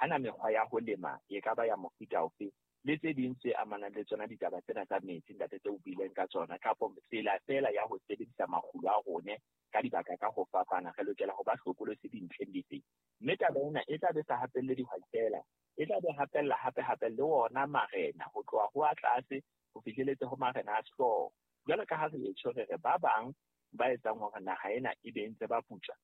Hana mekgwa ya ho lema e ka ba ya mofuta ofe, le tse ding tse amanang le tsona ditaba tsena tsa metsi, ntate, tse o buileng ka tsona, kapo tsela feela ya ho sebedisa makgulo a rone ka dibaka ka ho fapana, re lokela ho ba hlokolosi dintlheng dife. Mme taba ena e tla be sa hapelle dihwai feela, e tla be hapella hape-hape le wona marena, ho tloha ho a tlase ho fihleletse ho marena a sehlooho. Jwalo ka ha re etjho re re ba bang ba etsang hore naha ena e be ntse ba putswa,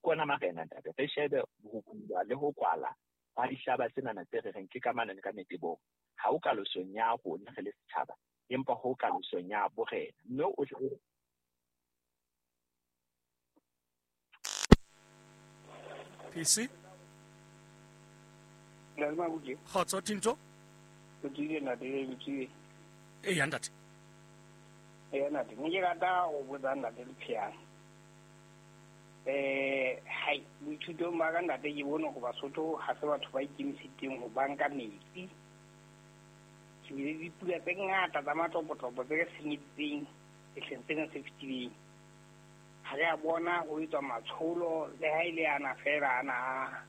ke ona marena, ntate. Re shebe ho bulwa le ho kwala hwa dihlaba tsenana tse re reng ke ka manane ka metebong. Ha o kalosong ya rona re le setjhaba, empa ho kalosong ya borena. Mme o PC Kgotso Tinto. Eya ntate. Eya ntate, ne ke rata ho botsa ntate Lepheana. Hai, boithutong ba ka ntate ke bone hore Basotho ha se batho ba ikemiseditseng ho banka metsi. Ke bile le dipula tse ngata tsa matlopotlopo tse re senyeditseng sehleng sena se fetileng. Ha re a bona ho etswa matsholo le ha e le ana feela ana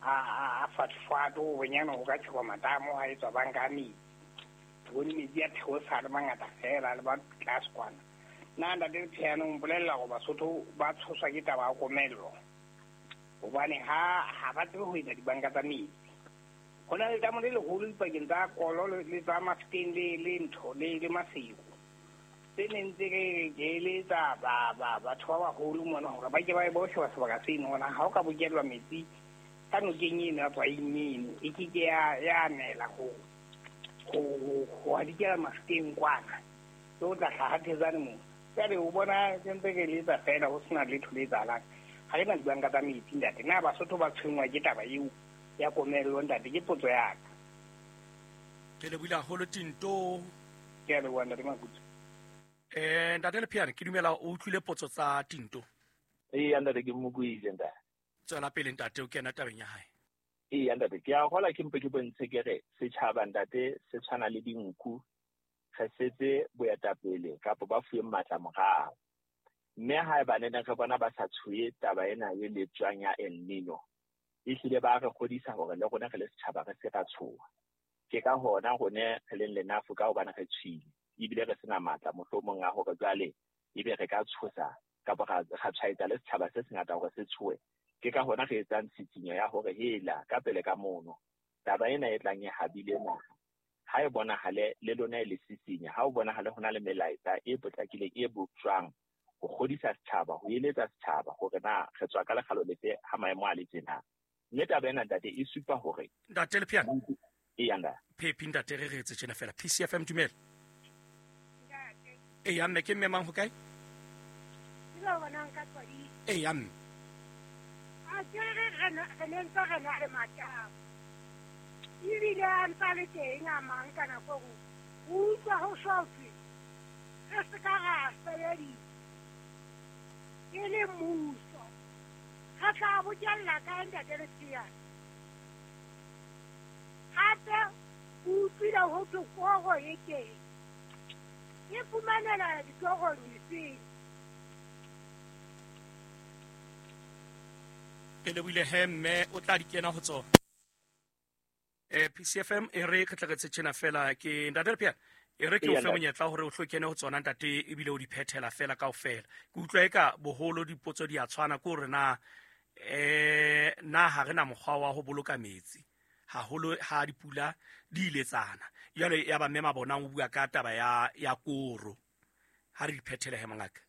a fatfofato bonyane ho ka tjhekwa matamo ha etswa banka ya metsi. Ke bone metsi a theosa a le mangata feela le ba tlase kwana. Nna ntate Lepheana o mpolella hore Basotho ba tshoswa ke taba ya komello hobane ha ba tsebe ho etsa dibanka tsa metsi. Ho na le letamo le leholo dipakeng tsa Kolo le tsa Mafeteng le ntho le Maseru. Tse neng tse re ke eletsa batho ba baholo mona hore ba ke ba bo sheba sebaka seno hona ha o ka bokellwa metsi ka nokeng eno ya Tswaing eno e ke ke ya nela ho hadikela Mafeteng kwana. Ke o tla hlaha Thetsane moo. Jwale o bona ke ntse ke eletsa feela ho sena letho le etsahalang. Ha re na dibanka tsa metsi ntate. Na Basotho ba tshwenngwa ke taba eo ya komello ntate? Ke potso ya ka. Ke lebohile haholo Tinto. Ke a leboha ntate Makutso. Ntate Lepheana, ke dumela o utlwile potso tsa Tinto. Eya ntate, ke mo buile ntate. Tswela pele ntate, o kena tabeng ya hae. Eya ntate, ke a hola ke mpe ke bontshe ke re setjhaba ntate se tshwana le dinku, re setse boetapele kapa ba fuweng matla morao. Mme haeba ne re bona ba sa tshohe taba ena e letswang ya El Nino, ehlile ba re kgodisa hore le rona re le setjhaba re se ra tshoha. Ke ka hona rone re leng lenafu ka hobane re tshwile ebile re sena matla mohlomong a hore jwale ebe re ka tshosa kapa ra tshwaetsa le setjhaba se sengata hore se tshohe. Ke ka hona re etsang tshitshinyo ya hore hela ka pele ka mono taba ena e tlang e habile naha ha e bonahale le lona e le sisinya, ha o bonahale ho na le melaetsa e potlakileng e boptjwang ho kgodisa setjhaba, ho eletsa setjhaba hore na re tswa ka lekgalo lefe ha maemo a le tjena. Mme taba ena ntate e supa hore Ntate Lepheana. Eya ntate. Phephi ntate re re etse tjena fela. PCFM dumela. Eya mme ke mme mang ho kae? Eya mme. A ke re re ne ntse re na le matamo. Ebile a ntsa le teng a mang ka nako e nngwe. O utlwa ho shwa ho thwe re se ka ra sebedisa e le mmuso. Re tla bokella kae ntate Lepheana? Hape o utlwile ho thwe koro e teng. E fumanela ditorong difeng? Ke lebohile he mme o tla di kena ho tsona. PCFM e re re tle re tshena fela ke ntate Lepheana. E re ke o fe monyetla hore o hlo kene ho tsona ntate ebile o di phethela fela kaofela. Ke utlwa eka boholo dipotso di a tshwana ke hore na na ha re na mokgwa wa ho boloka metsi haholo ha dipula di iletsana. Jwale ya ba mme Mabona o bua ka taba ya koro. Ha re di phethele he mongaka.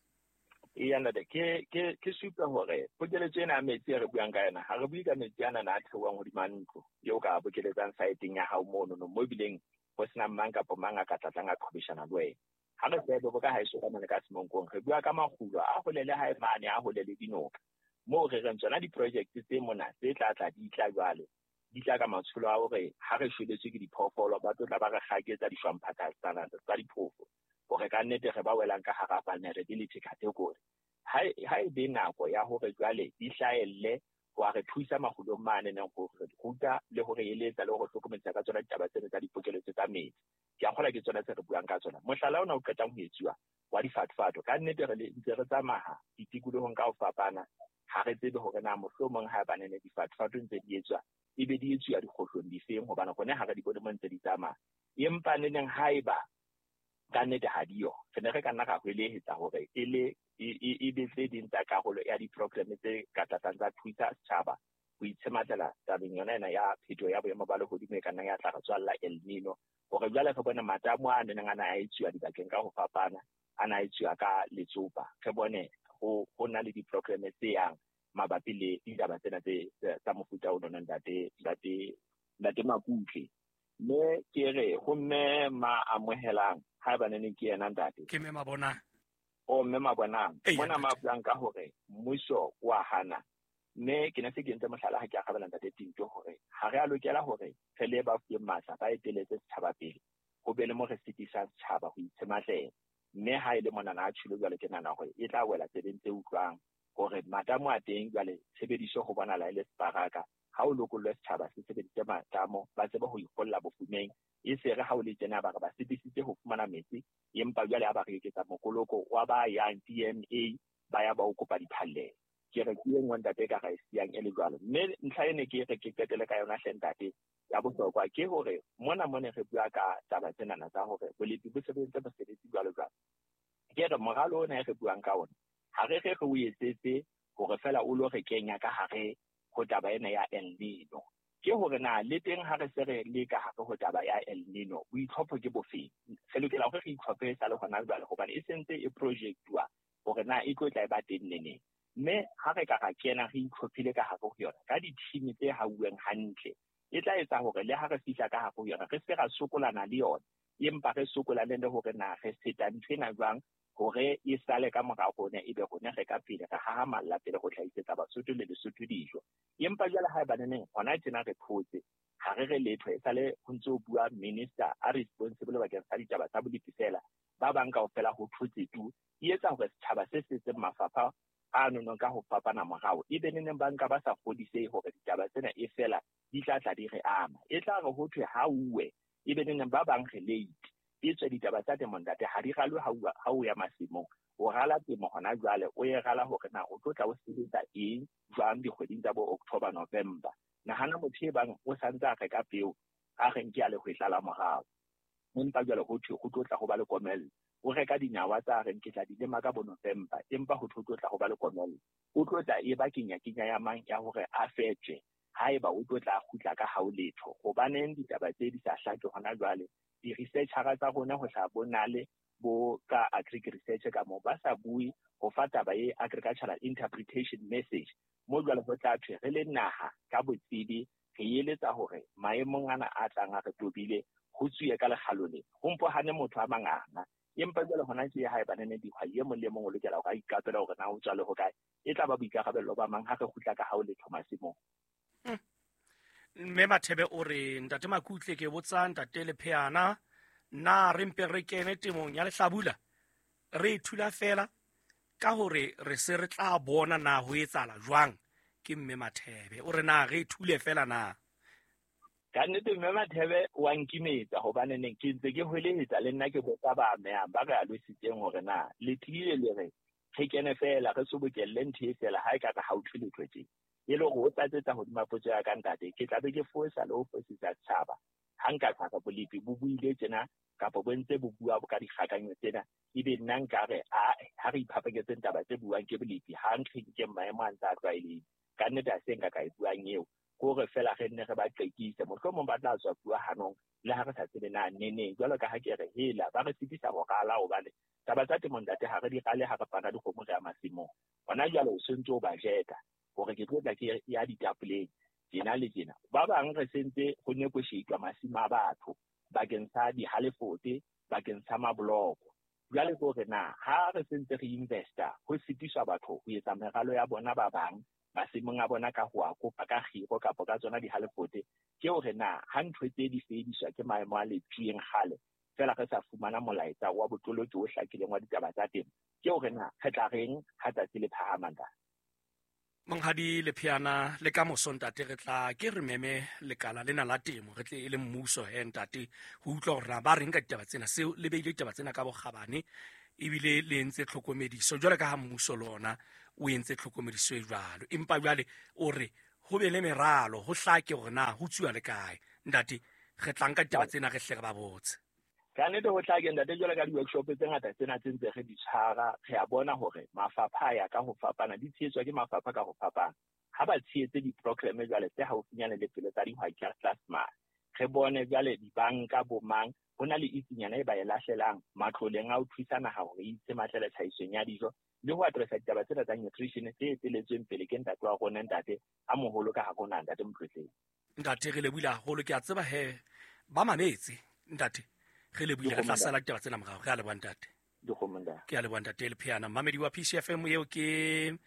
Eya ntate, ke supe hore pokeletso ena ya metsi e re buang ka yona, ha re bue ka metsi ana a theohang hodima ntlo eo ka bokeletsang saeteng ya hao mono no, mo ebileng ho sena mang kapa mang a ka tlatlang a qhobeshana le wena. Ha re tsebe bo ka haeso ka mane ka Semonkong, re bua ka makgulo a hole le hae mane, a hole le dinoka. Moo re reng tsona di-project tse mona tse tla tla di tla jwale, di tla ka matsholo a hore ha re shweletswe ke diphoofolo, ba tlo tla ba re kgaketsa dishwamphatha tsa diphofo hore ka nnete re ba welang ka hara vulnerability category. Ha e be nako ya hore jwale di hlahelle ho a re thusa makgulong mane neng ho re ruta le ho re eletsa le ho re hlokomedisa ka tsona ditaba tsena tsa dipokeletso tsa metsi. Ke a kgolwa ke tsona tse re buang ka tsona. Mohlala ona o qetang ho etsuwa wa difatfato, ka nnete re ntse re tsamaya ditikolohong ka ho fapana, ha re tsebe hore na mohlomong ha ba ne difatfato ntse di etswa, ebe di etsuwa dikgohlong difeng, hobane rona ha re di bone mo ntse di tsamaya. Empa neneng haeba ka nnete ha diyo, re ne re ka nna ra hwelehetsa hore e le e be tse ding tsa karolo ya di-program tse ka tlatlang tsa thusa setjhaba ho itshematlela tabeng yona ena ya phetoho ya boemo ba lehodimo e ka nnang ya tla re tswalla El Nino, hore jwale re bone matamo a neneng a na a etsuwa dibakeng ka ho fapana, a na a etsuwa ka letsopa, re bone ho na le di-program tse yang mabapi le ditaba tsena tse tsa mofuta o nona ntate Makutle. Mme ke re ho mme ma amohelang haeba ne ke yena ntate. Ke mme Mabonang. O mme Mabonang. Mona ma buang ka hore mmuso wa hana. Mme ke ne se ke entse mohlala ha ke arabela ntate Tinto hore ha re a lokela hore re le ba fuweng matla ba eteletse setjhaba pele, ho be le mo re sitisang setjhaba ho itshematlela. Mme ha e le monana a tjhilo jwale ke nahana hore e tla wela tsebeng tse utlwang hore matamo a teng jwale tshebediso ho bonahala e le separaka. Ha o lokollwe setjhaba se sebedise matamo, ba tsebe ho ikgolla bofumeng, e se re ha o le tjena ba re ba sitisitse ho fumana metsi, empa jwale ha ba re eketsa mokoloko wa ba yang DMA ba ya ba o kopa diphallelo. Ke re ke e nngwe ntate e ka ra e siyang e le jwalo. Mme ntlha e ne ke re ke qetele ka yona hle ntate ya bohlokwa ke hore mona mone re bua ka taba tsenana tsa hore bolepi bo sebeditse mosebetsi jwalo jwalo. Ke re moralo ona e re buang ka ona ha re re o etsetse hore fela o lo re kenya ka hare ho taba ena ya El Nino. Ke hore na le teng ha re se re le ka hare ho taba ya El Nino, boitlhopho ke bofeng? Re lokela hore re itlhophe sa le hona jwale hobane e sentse e projectuwa hore na e tlo tla e ba teng neneng. Mme ha re ka ra kena re itlhophile ka hare ho yona ka di-team tse hauweng hantle, e tla etsa hore le ha re fihla ka hare ho yona re se ra sokolana le yona, empa re sokolane le hore na re feta ntho ena jwang hore e sale ka mora rona, ebe rona re ka pele re hahamalla pele ho hlahisetsa Basotho le Lesotho dijo. Empa jwale haeba neneng hona tjena re thotse, ha re re letho, e sale ho ntse ho bua minister a responsible bakeng sa ditaba tsa bolepi fela, ba bang kaofela ho thotse tu, e etsa hore setjhaba se setseng mafapha a nonong ka ho fapana morao, ebe neneng ba nka ba sa kgodisehe hore ditaba tsena e fela di tla tla di re ama. E tla re ho thwe ha uwe, ebe neneng ba bang re late. E tswe ditaba tsa temo ntate ha di ralwe ha o ya masimong. O rala temo hona jwale, o e rala hore na o tlo tla o sebetsa eng jwang dikgweding tsa bo October, November. Nahana motho e bang o santse a reka peo, a reng ke a lehwetla la morao, empa jwale ho thwe ho tlo tla ho ba le komello. O reka dinawa tsa reng ke tla di lema ka bo November, empa ho thwe ho tlo tla ho ba le komello. O tlo tla e ba kenya ya mang ya hore a fetwe haeba o tlo tla kgutla ka hao letho. Hobaneng ditaba tse di sa hlake hona jwale? Di-researchera tsa rona ho hlaha bo nale bo ka agric research ka moo ba sa bue ho fa taba e agricultural interpretation message. Mo jwale ho tla thwe re le naha ka botsebi re eletsa hore maemong ana a tlang a re tobile ho tsuye ka lekgalo lena, ho mpo hane motho a manganga. Empa jwale hona tje haeba nene dihwai e mong le mong o lokela hore a iqapele hore na o tswa le hokae, e tla ba boikarabello ba mang ha re kgutla ka hao letho masimong. Mme Mathebe o re ntate Makutle ke botsa ntate Lepheana, na re mpe re kene temong ya lehlabula re ithula fela ka hore re se re tla bona na ho etsahala jwang? Ke mme Mathebe o re na re ithule fela na? Ka nnete mme Mathebe wa nkimetsa hobane neng ke ntse ke hwelehetsa le nna ke botsa ba amehang ba re alositseng hore na le tlile le re re kene fela re sobokelle ntho e fela ha e ka re ha o thwe letho tje. E le hore o tlatsetsa hodima potso ya ka ntate, ke tla be ke fosa le ho fosisa setjhaba ha nka tla bolepi bo buile tjena kapa bo ntse bo bua ka dikgakanyo tsena, ebe nna nka re ha re iphapanyetseng taba tse buang ke bolepi ha nkge ke maemo a ntse a tlwaelehile. Ka nnete ha se nka ka e buang eo, ke hore fela re nne re ba qekise, mohlomong ba tla tswa bua hanong le ha re sa tsebe na neneng. Jwalo ka ha ke re hela ba re sitisa ho rala, hobane taba tsa temo ntate ha re di rale ha re pana dikgomo re ya masimong. Hona jwale o sentse o ba jeta hore ke tlo tla ke ya ditapoleng tjena le tjena. Ba bang re sentse ho negotiate masimo a batho bakeng sa dihalefote, bakeng sa mabloko. Jwale ke hore na ha re sentse re investa ho sitiswa batho ho etsa meralo ya bona ba bang masimong a bona ka ho a kopa ka kgiro kapa ka tsona dihalefote, ke hore na ha ntho tse di fediswa ke maemo a letsueng kgale fela re sa fumana molaetsa wa botoloki o hlakileng wa ditaba tsa temo, ke hore na re tla reng ha tsatsi le phahama ntate. Monghadi Lepheana, le ka moso ntate re tla ke re meme lekala lena la temo, re tle e le mmuso he ntate ho utlwa hore na ba reng ka ditaba tsena. Seo le beile ditaba tsena ka bokgabane ebile le entse tlhokomediso jwale ka ha mmuso le ona o entse tlhokomediso e jwalo, empa jwale o re Ho be le meralo, ho hlake hore na ho tsuwa le kae. Ntate, re tla nka ditaba tsena re hle re ba botse. Ka nnete ho hlake ntate, jwalo ka di-workshop tse ngata tsena tse ntse re di tshwara, re a bona hore mafapha a ya ka ho fapana, di tshehetswa ke mafapha ka ho fapana. Ha ba tshehetse di-programme jwale tse haufinyane le pelo tsa dihwai ka mane. Re bone jwale dibanka bo mang, ho na le itsinyana e ba e lahlelang matloleng a ho thusa naha hore e itse matlele tlhahisong ya dijo le ho addressa ditaba tsena tsa nutrition tse eteletsweng pele ke ntate wa rona, ntate a moholo ka hare ho naha, ntate Motlotleng. Ntate, re lebohile haholo. Ke a tseba he ba mametse. Ntate, re lebohile, re tla sala ditaba tsena morao. Re a leboha ntate. Ke a leboha ntate Lepheana. Mmamedi wa PCFM eo ke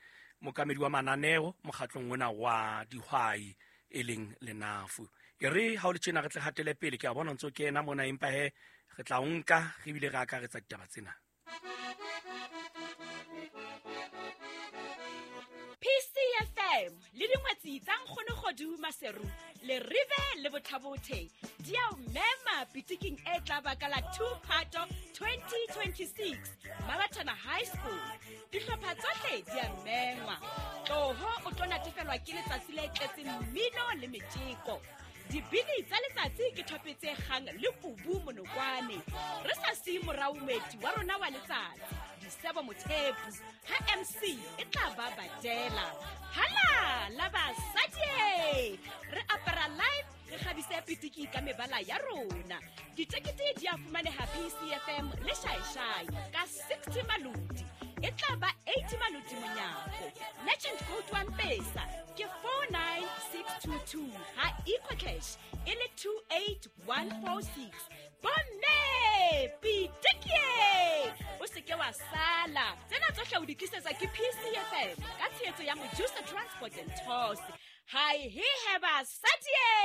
mokamedi wa mananeo mokgatlong ona wa dihwai e leng Lenafu. E re ha o le tjena re tle hatele pele, ke a bona ntse o kena mona, empa he re tla o nka re bile re akaretsa ditaba tsena. PCFM le dingwetsi tsa Nkgono Kgodu Maseru le Rive le Bothabothe di a o mema pitiking e tla ba ka la 2 Phato 2026 Mabathana High School. Dihlopha tsohle di a mengwa. Tloho o tlo natefelwa ke letsatsi le tletseng mmino le metjeko. Dibini tsa letsatsi ke thope tse kgang le kubu monokwane. Re sa siye morao moeti wa rona wa letsatsi, Disebo Mothepu, ha MC e tla ba badela. Hala la basadi! Re apara live, re kgabise pitiki ka mebala ya rona. Ditekete di a fumaneha PCFM le Shaeshai ka 60 maloti. E tla ba 80 maloti monyako. Merchant code wa Mpesa ke 49622, ha EcoCash e le 28146. Bomme, pitikie! O se ke wa sala. Tsena tsohle o di tlisetswa ke PCFM ka tshehetso ya Mojusa Transport and Tours. Hai he he basadi!